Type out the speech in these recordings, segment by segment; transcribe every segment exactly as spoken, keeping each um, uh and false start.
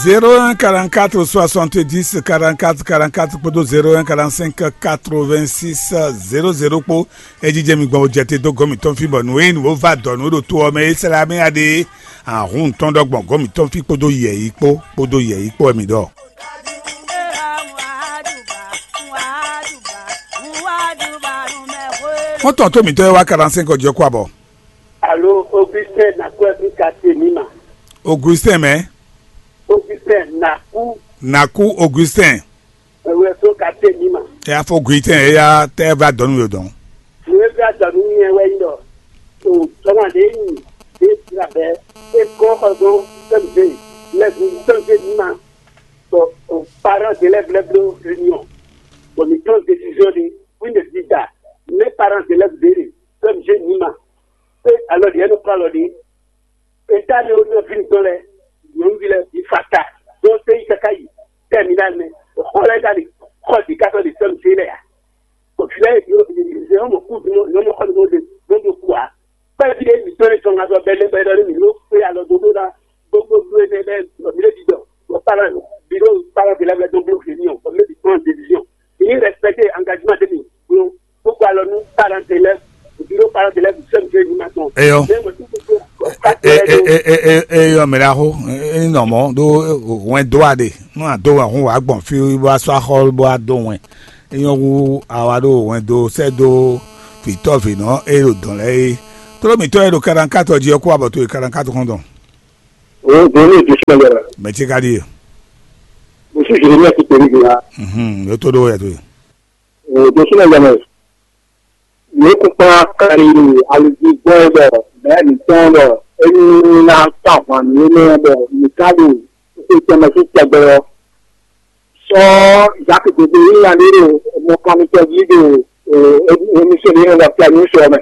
Zéro un quarante-quatre soixante-dix quarante-quatre quarante-quatre kpódó zéro un quarante-cinq quatre-vingt-six zéro zéro kpó. Ejijɛ mi gbɔn jɛ te dó gɔ́n mǐtɔn fí bɔ nǔ e nǔ va dɔ nǔ ɖo to ɔ́ mɛ é sɛ́ mɛ aɖe ahun tɔn ɖɔ gbɔn gɔ́n mǐtɔn fí kpódó yɛ̌yi kpó kpódó yɛ̌yi kpó wɛ mi ɖɔ. Xɔ́ntɔn tó mǐtɔn e wá quarante-cinq ɔ́ jɛ kó abɔ. Alo Augustin Nakwɛ́ bí ka te mǐ ma. Augustin mɛ. Augustin Naku. Naku Augustin. Ewé so ka te mǐ ma. Eya fɔ Augustin eya tɛ va dɔn nú yɔ dɔn. Nú e va dɔn nú nyɛ wɛ nyí ɖɔ o sɔmɔ ɖe nyi ɖe labɛ e kɔ xɔ dɔn sɛmze lɛbu sɛmze mǐ ma. Bɔ o parents d'élèves lɛ́ bló réunion. Bɔ mǐ prend décision ɖé, oui, ne di da, mais parents d'élèves ɖé ɖe, sɛmze mǐ ma. Pe alɔ ɖi ɛnɛ kɔ alɔ ɖi. Eta ɖe wonɔ vi ŋutɔn lɛ, nyɔnuvi lɛ bi fata, ɖo te yi kaka yi terminal mɛ, xɔ lɛ ka ɖi xɔ ɖi ka tɔ ɖi sɛm se lɛ ya. Bɔ fi lɛ yɔ mɔ kú dun yɔ mɔ xɔ ɖo ɖe ɖo ɖo kú a. Kpɛvi ɖe mi tɔn ɖe tɔn ŋa sɔ bɛ lɛ bɛ ɖɔ mi ɖo kpe alɔ do ɖo na gbogbo do ɛnɛ lɛ mi ɖe di dɔ bɔ para bi ɖo para bi lɛ bɛ do blo fi mi o bɔ mi bi prend décision. Ini respecter engagement de mi. Kpokpo alɔ nú parent élève, biro parent élève sɛm ke ní ma tɔn. Eyɔ. Mɛ mo ti kpokpo. Eyɔ mɛ ɖaxo. Enɔ mɔ ɖo wɛn do aɖe nú ado wɛn hun wà gbɔn fi bó asɔ axɔ bó ado wɛn. Eyɔ wu awa ɖo wɛn do sɛ do vitɔ vinɔ eye ɖo dɔn lɛ ye. Tolomitɔ ye ɖo karankatɔ jí ɔkú abɔto ye karankatɔ kɔn dɔn. O doni e desi mɛ yɛrɛ. Mɛ ti ka di ye. Mo si jere mi ati peri gina. Mhm, yo to ɖo yɛ to ye. Ɖo súnɔ yɛmɛ, yě kún kplɔ́n akali alidzi gbɔn bɔ mɛ̌ mǐtɔn bɔ é ní ná kpá ahwan nú énɛ́ bɔ mǐ ka ɖo xwé tɛnmɛ sín tɛgbɛ ɔ́. Sɔ́ Zaki Gbegbe ní nya ɖé ɖo mɔkanmítɔ́ jí ɖo émísɔ́ ɖé nɔ fia ní sɔ mɛ.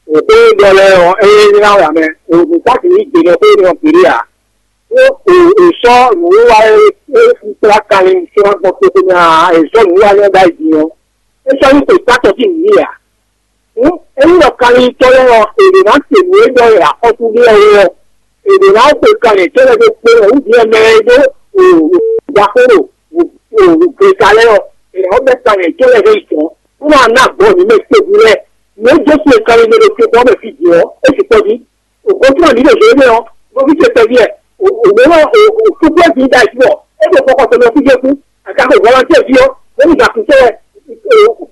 Xó e ɖɔ lɛ́ɛ ɔ́, é nyí ná wɛ amɛ. Mǐ ka sixú gbe nɔ xó énɛ́ ɔ́ gbeɖé ǎ. Ó, è sɔ́ nǔwiwa e é kplá kanlin sɔ́ gbɔn toxo mɛ ǎ, è sɔ́ nǔwiwa énɛ́ ɖ'ayǐ din ɔ́, é sɔ́ nyí xweyǐkpatɔ́ sín nǔ ǎ. Hǔn, ényí ɖɔ kanlintɔ́ lɛ́ɛ ɔ́, è ɖǒ ná se nǔ e ɖɔ è axɔ́sú ɖe ɔ́ ó ɔ́, è ɖǒ ná xwe kanlin yětɔn lɛ́ɛ ɖó kpé wɛ wú din mɛ e ɖó ɖaxó ɖo gleta lɛ́ɛ ɔ́, è nǎ bɛ́ kanlin yětɔn lɛ́ɛ ɖó yi tɔn, bó ná ná gbɔn nǔ mɛ tɛ́gbú lɛ́ɛ. Nǔ e Jezu e kanlin ɖe ɖo tokpɔn mɛ fí din ɔ́, é sukpɔ́ jí. Ògbóntúmọ̀ ní ɖo zě énɛ́ ɔ́, nɔví ce tɛ́ví ɛ, ògbónɔ òkúkú ɛ bǐ da jí bɔ é ɖo xɔxɔ tɔn mɛ fí jɛ kú, àkàkọ vɔlɔntɛ́ ví ɔ́, bó ní gǎkúntɔ́ wɛ,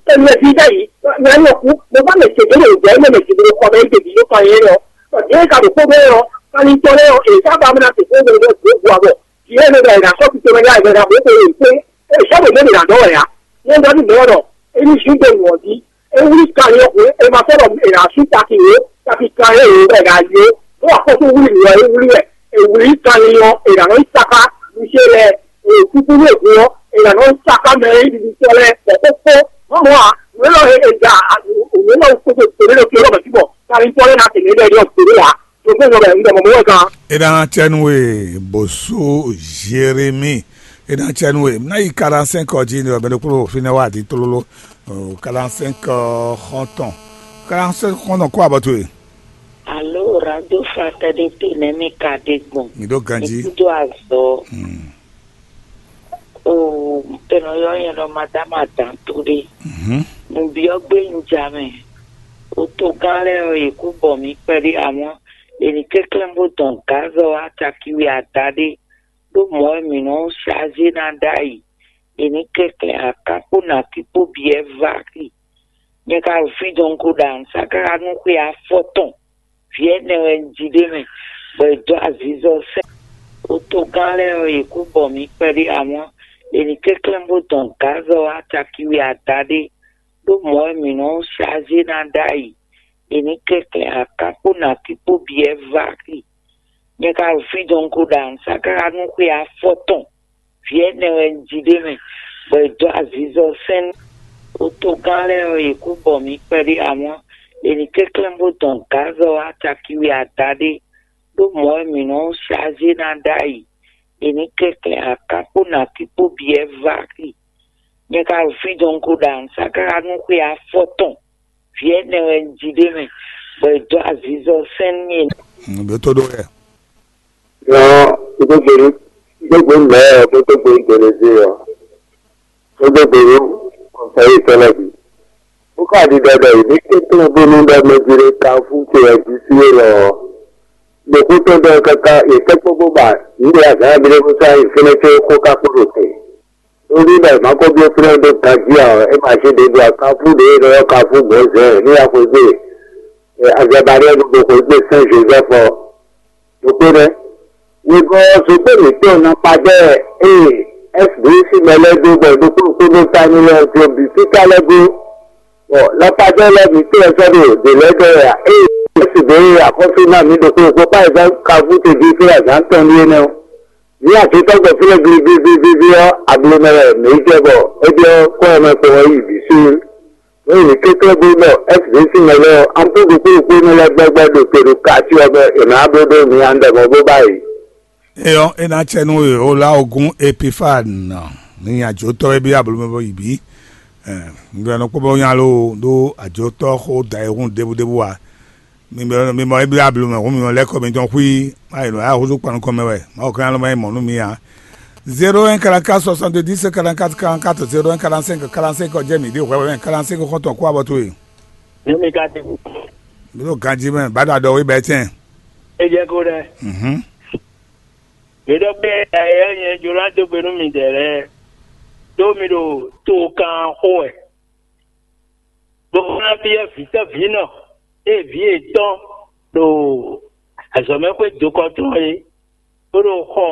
kɛnu ɛ bǐ da yìí, nya ní ɔkú, mo bá mɛ ce dó ɖo zɛ énɛ́ mɛ ce dó xɔ mɛ é ɖeví yó kan yé ɔ́, bɔ dě e ka ɖo kpó bɛ́ ɔ́, kanitɔ lɛ́ɛ ɔ́, è sá ba mɛ ná tě kpó bɛ́ bɛ́ dǒ gu abɔ, vǐ ɛ mɛ bɛ è nǎ sɔ́ tito mɛ yá ɛ mɛ ná bó xwe è kpé, é sɔ́ ɖo mɛ ɖě ná dɔ́ wɛ ǎ, ní ɛ dɔ́ ní mɛ ɔ́ ɖɔ, é ní zú do nǔ ɔ́ jí. É wlí kanlin ɔ́ hwe, è ma sɔ́ ɖɔ è nǎ sú taki wǒ, taki kanlin e wǒ bɔ è nǎ yó. Bó wá kɔ́ tó wlí nǔ ɔ́, é wlí wɛ. È wlí kanlin ɔ́, è nǎ nɔ yí sáká nǔ ce lɛ́ɛ, è kúkú ní ègún ɔ́, è nǎ nɔ yí sáká mɛ e ɖiɖi tɔ́ lɛ́ɛ, bɔ xó kpó. Mɔ̌ mɔ̌ ǎ, nǔ élɔ́ e è ja nǔ élɔ́ kpódó tòlé ɖo fi élɔ́ mɛ jí bɔ kanlin tɔ́ lɛ́ɛ ná tɛ̀lé ɖɛ ɖɔ tòlé ǎ. Ɖo fún ìyɔ́ bɛ̀rẹ̀ ń dɛ mɔ̌ mɔ̌ wɛ gan. É ná cɛ nú we bó sú Jérémie. É ná cɛ nú we. Ná yi quarante-cinq ɔ́ jí ní ɔbɛ ɖokpó fínɛ́ wá di tlóló. Quarante-cinq xɔ́ntɔn. Quarante-cinq xɔ́ntɔn kó abɔ towe. Alo radio fraternité nɛ mi ka ɖe gbɔn. Mi ɖo ganji. Mi kúdo azɔ. Hmm. O, tɛnɔ yɔ yɛn ɖɔ madame adan to ɖe. Mhm. Nǔbyɔ́ gbé un ja mɛ. O togán lɛ́ɛ ɔ́, yě kú bɔ mǐ kpɛɖé amɔ́. È nǐ kɛnklɛ́n bó dɔn gǎzɔ wá caki we adaɖé, ɖó mɔ̌ wɛ mǐ nɔ́ saze ná ɖ'ayǐ. È nǐ kɛnklɛ́n aká kpó nǎkí kpó bǐ wɛ vá xi. Nyɛ ka ɖo fí dɔn ko ɖo anǔsáká nú xwe afɔtɔn. Vǐ ɛnɛ wɛ un ji ɖ'é mɛ, bɔ è dó azizɔ sɛ́n. Otogán lɛ́ɛ ɔ́, yě kú bɔ mǐ kpɛɖé amɔ́. È nǐ kɛnklɛ́n bó dɔn gǎzɔ wá caki we adaɖé, ɖó mɔ̌ wɛ mǐ nɔ́ saze ná ɖ'ayǐ. È nǐ kɛnklɛ́n aká kpó nǎkí kpó bǐ wɛ vá xi. Nyɛ ka ɖo fí dɔn ko ɖo anǔsáká nú xwe afɔtɔn. Vǐ ɛnɛ wɛ un ji ɖ'é mɛ, bɔ è dó azizɔ sɛ́n. Otogán lɛ́ɛ ɔ́, yě kú bɔ mǐ kpɛɖé amɔ́. È nǐ kɛnklɛ́n bó dɔn gǎzɔ wá caki we adaɖé, ɖó mɔ̌ wɛ mǐ nɔ́ saze ná ɖ'ayǐ. È nǐ kɛnklɛ́n aká kpó nǎkí kpó bǐ wɛ vá xi. Nyɛ ka ɖo fí dɔn ko ɖo anǔsáká nú xwe afɔtɔn. Vǐ ɛnɛ wɛ un ji ɖ'é mɛ, bɔ è dó azizɔ sɛ́n nú mì. Ɖó tó ɖó wɛ. Nyɔ̌, un dó gbe nú, un dó gbe nú mɛ̌ ɔ́, bó dó gbe nú Delezée ɔ́, bó dó gbe nú kɔnfɛyítɔ́ lɛ́ɛ bǐ. Bó ka ɖiɖɔ ɖɔ yě ní kɛnklɛ́n bónú ɖɔ mɛ jí ɖé ka fún ce wɛ jí sí élɔ́ ɔ́, ɖo xú tɔn ɖɔ káká yě tɛ́ kpó bó ba nǔ ɖé azǎn ɔ́ bǐ ɖé bó sɔ́ nyi fínɛ́ có xó ka kpó ɖo te. Tóví ɖɔ è ma ko byɔ́ fínɛ́ ɖó ganjí ǎ ɔ́, é ma cí ɖě ɖo akanfú ɖě e è nɔ ylɔ́ kanfú Mɔ̌zɛ́ ní wá xweyǐgbe, e Azɛbaɖɛ́ɛ ɖo xweyǐgbe Sɛ́n Jozɛ́fu ɔ́. Ɖokpó nɛ́. Wegɔ́ ɔ́, zogbɛ́ mǐtɔn Napadɛ́ɛ e Ɛ́sibǐ sín mɛ lɛ́ɛ dó bɔ ɖokpó ɖokpó nɔ ta n'i lɛ́ɛ ɔ́ jló bǐ fíká lɛ́ɛ gó. Bɔ Napadɛ́ɛ lɛ́ɛ mǐtɔn e sɔ́ ɖo ɖě lɛ́ɛ ɖɔ wɛ ǎ. Ée Ɛ́sibǐ e axɔ́sú ná mǐ ɖokpó ɖokpó kpá e zán kanfú ce jí fí azǎn tɔn ɖíe nɛ́ ɔ́. Ní àtúntɔ́gbɛ fínɛ́ gligligligligli ɔ́, ablo mɛ wɛ mǐ jɛ bɔ é byɔ́ kɔ́ ɔ́ mɛ kpɔ́n ɔ́ yi bǐ sín. Nú mǐ kɛ́kɛ́ bó ɖɔ Ɛ́sibǐ sín mɛ lɛ́ɛ ɔ́, an kpó ɖokpó ɖokpó énɛ́ lɛ́ɛ gbɛ́gbɛ́ ɖo te ɖo kací ɔ́ mɛ, è nǎ bló ɖó mi andɛ mɔ bó ba yi. Eyɔ, é ná cɛ nú we o lá ogún Epifan ní ajotɔ́ e byɔ́ ablo mɛ bɔ yi bǐ. Nǔɖé nɔ kpɔ́ bɔ nya ló ɖó ajotɔ́ xó da e hún ɖěbúɖébú ǎ. Mi mɔ mi mɔ eblá ablu mɛ hǔn mi mɔ lɛ́ kɔ mitɔn xwí má yi nɔ ya húzú kpan nukɔn mɛ wɛ má wɔ kán lɔ má yi mɔ nú mi ǎ. Zéro un quarante-quatre soixante-dix quarante-quatre quarante-quatre, zéro un quarante-cinq quarante-cinq ɔ́ jẹ́ mǐ ɖe hwɛhwɛ mɛ quarante-cinq xɔ́ntɔn kú abɔ towe. Ní mi ka ti kú. Mi ɖo ganjí mɛ bá ɖo aɖɔ wí bɛ́ tɛn. É jẹ́ kó ɖɛ. Mhm. Mǐ ɖɔ pé ɛyɛ nyɛ jló ná dó gbe nú midɛɛ lɛ́ɛ, ɖó mi ɖo to kan xó wɛ. Bó ná byɔ́ vǐ tɔ́ vǐ nɔ, ée vǐ yětɔn ɖo azɔ̌mɛxwé dokɔ tɔn é, bó ɖo xɔ